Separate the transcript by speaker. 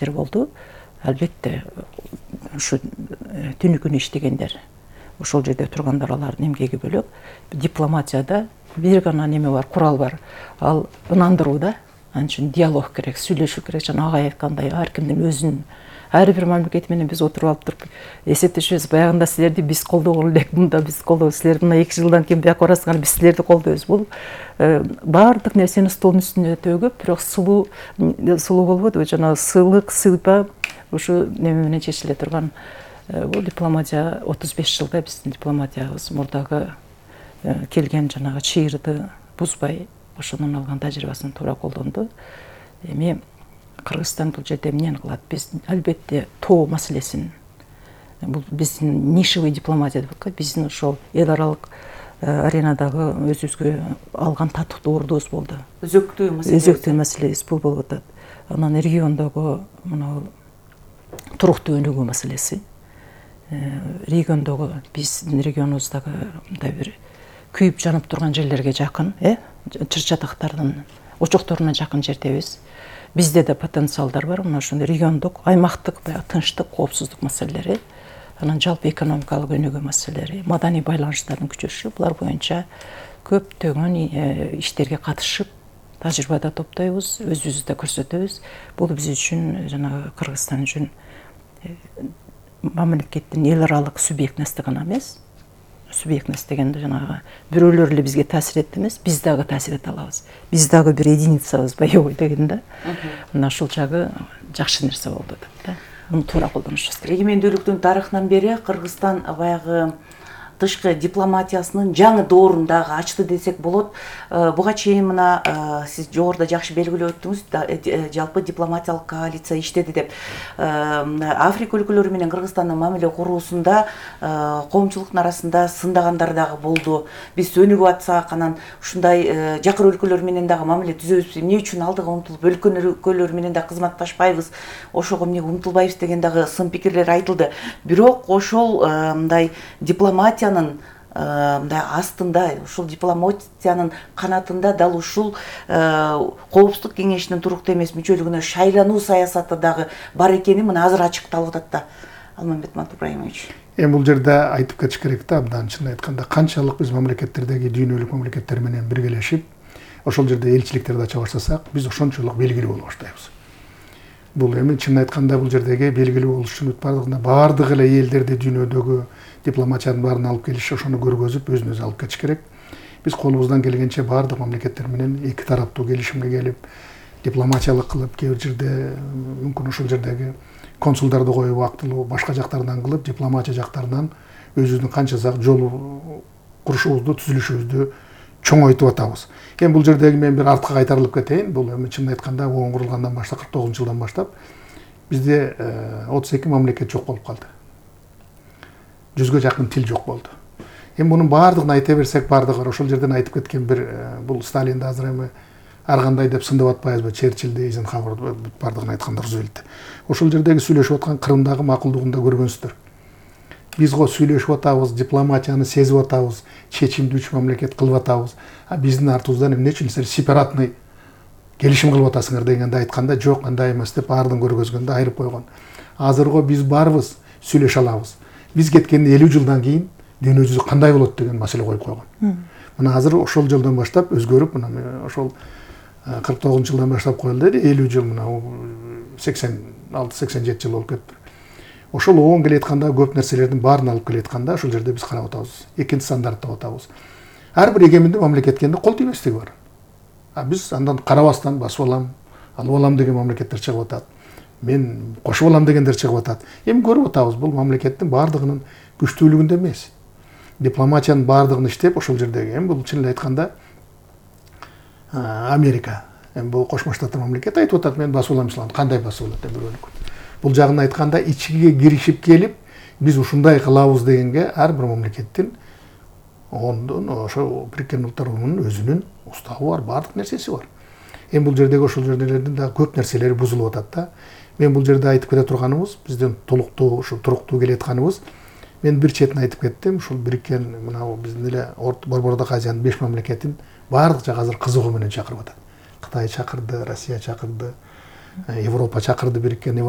Speaker 1: иштер болду. Албетте ушу түнү күнү иштегендер, ошол жерде тургандар алардын эмгеги бөлөк. Дипломатияда бир гана неме бар, курал бар. Ал ынандыруу да. Анын үчүн диалог керек, сүйлөшүү керек. Жана агай айткандай, ар кимдин өзүнүн ар бир мамлекет менен биз отуруп алып туруп эсептешебиз. Баягында силерди биз колдогон элек, мында биз колдойбуз, силер мына 2 жылдан кийин бияка барасыңар, биз силерди колдойбуз. Бул баардык нерсени столдун үстүнө төгүп, бирок сулуу болбойбу, жана сыйлык, сыйпа ушу неме менен чечиле турган. Бул дипломатия 35 жылда биздин дипломатиябыз мурдагы келген жанагы чыйырды бузбай, ошонун алган тажрыйбасын туура колдонду. Эми Кыргызстан бул жерде эмнени кылат? Биз албетте тоо маселесин, бул биздин нишевый дипломатия деп коет, биздин ошол эл аралык аренадагы өзүбүзгө алган татыктуу ордубуз болду. Өзөктүү маселебиз бул болуп атат. Анан региондогу мына туруктуу өнүгүү маселеси. Региондогу биздин регионубуздагы мындай бир күйүп жанып турган жерлерге жакын, чыр-чатактардын очокторуна жакын жердебиз. Бизде да потенциалдар бар, мына ошондой региондук, аймактык баягы тынчтык, коопсуздук маселелери, анан жалпы экономикалык өнүгүү маселелери, маданий байланыштардын күчөшүшү, булар боюнча көптөгөн иштерге катышып, тажрыйба да топтойбуз, өзүбүздү да көрсөтөбүз. Бул биз үчүн, жанагы Кыргызстан үчүн мамлекеттин эл аралык субъектности гана эмес, субъектность дегенде жанагы бирөөлөр эле бизге таасир этти эмес, биз дагы таасир эте алабыз. Биз дагы бир единицабыз, боевой деген да. Мына ушул жагы жакшы нерсе болду деп да. Муну туура колдонушубуз керек.
Speaker 2: Эгемендүүлүктүн тарыхынан бери Кыргызстан баягы тышкы дипломатиясынын жаңы доорун дагы ачты десек болот. Буга чейин мына сиз жогоруда жакшы белгилеп өттүңүз, жалпы дипломатиялык коалиция иштеди деп. Африка өлкөлөрү менен Кыргызстандын мамиле куруусунда коомчулуктун арасында сындагандар дагы болду. Биз өнүгүп атсак, анан ушундай жакыр өлкөлөр менен дагы мамиле түзөбүз, эмне үчүн алдыга умтулуп, өлкөлөр менен да кызматташпайбыз, ошого эмне умтулбайбыз деген дагы сын пикирлер айтылды. Бирок ошол мындай дипломатиянын мындай астында, ушул дипломатиянын канатында дал ушул Коопсуздук кеңешинин туруктуу эмес мүчөлүгүнө шайлануу саясаты дагы бар экени мына азыр ачыкталып атат да. Алмамбет Ибраимович.
Speaker 3: Эми бул жерде айтып кетиш керек да, абдан чын айтканда, канчалык биз мамлекеттердеги дүйнөлүк мамлекеттер менен биргелешип, ошол жерде элчиликтерди ача баштасак, биз ошончолук белгилүү боло баштайбыз. Бул эми чын айтканда бул жердеги белгилүү болуш үчүн баардык эле элдерди дүйнөдөгү дипломатиянын баарын алып келиш, ошону көргөзүп, өзүн өзү алып кетиш керек. Биз колубуздан келгенче баардык мамлекеттер менен эки тараптуу келишимге келип, дипломатиялык кылып, кээ бир жерде мүмкүн ошол жердеги консулдарды коюп, убактылуу башка жактардан кылып, дипломатия жактарынан өзүбүздүн канча жолу курушубузду, түзүлүшүбүздү чоңойтуп атабыз. Эми бул жердеги мен бир артка кайтарылып кетейин. Бул эми чын айтканда ООН курулгандан баштап, 49-жылдан баштап бизде 32 мамлекет жок болуп калды. 100га жакын тил жок болду. Эми мунун баардыгын айта берсек, баардыгы ошол жерден айтып кеткен бир бул Сталинди азыр эми ар кандай деп сындап атпайбызбы, Черчиллди, Эйзенхауэрди баардыгын айтканда Рузвельтти. Ошол жердеги сүйлөшүп аткан Крымдагы макулдугун да көргөнсүздөр. Биз го сүйлөшүп атабыз, дипломатияны сезип атабыз, чечимди 3 мамлекет кылып атабыз. А биздин артыбыздан эмне үчүн силер сепаратный келишим кылып атасыңар дегенде айтканда, жок, андай эмес деп баардыгын көргөзгөндө айырып койгон. Азырго биз барбыз, сүйлөшө алабыз. Биз кеткенде 50 жылдан кийин дүйнө жүзү кандай болот деген маселе коюп койгон. Мына азыр ошол жылдан баштап өзгөрүп, мына ошол 49-жылдан баштап коюлду, 50 жыл, мына 86-87 жыл болуп кетти. Ошол ООН келетканда көп нерселердин баарын алып келетканда ошол жерде биз карап атабыз. Экинчи стандарттап атабыз. Ар бир эгемендүү мамлекеткенде кол тийбестиги бар. А биз андан карабастан басып алам, алып алам деген мамлекеттер чыгып атат. Мен кошуп алам дегендер чыгып атат. Эми көрүп атабыз, бул мамлекеттин баардыгынын күчтүүлүгүндө эмес. Дипломатиянын баардыгын иштеп, ошол жердеги эми бул чын айтканда Америка, эми бул Кошмо Штаттар мамлекети айтып атат, мен басып алам ислам, кандай басып алат деп бирөөнүк. Бул жагын айтканда ичиге киришип келип, биз ушундай кылабыз дегенге ар бир мамлекеттин ООНдун, ошо Бириккен Улуттар Уюмунун өзүнүн устабы бар, баардык нерсеси бар. Эми бул жердеги ошол жерлердин да көп нерселери бузулуп атат да. Мен бул жерде айтып кете турганыбыз, биздин толуктуу, ушул туруктуу келатканыбыз, мен бир четин айтып кеттим, ушул Бириккен, мына биздин эле Борбордук Азиянын 5 мамлекетин баардык жак азыр кызыгуу менен чакырып атат. Кытай чакырды, Россия чакырды, Европа чакырды, Бириккен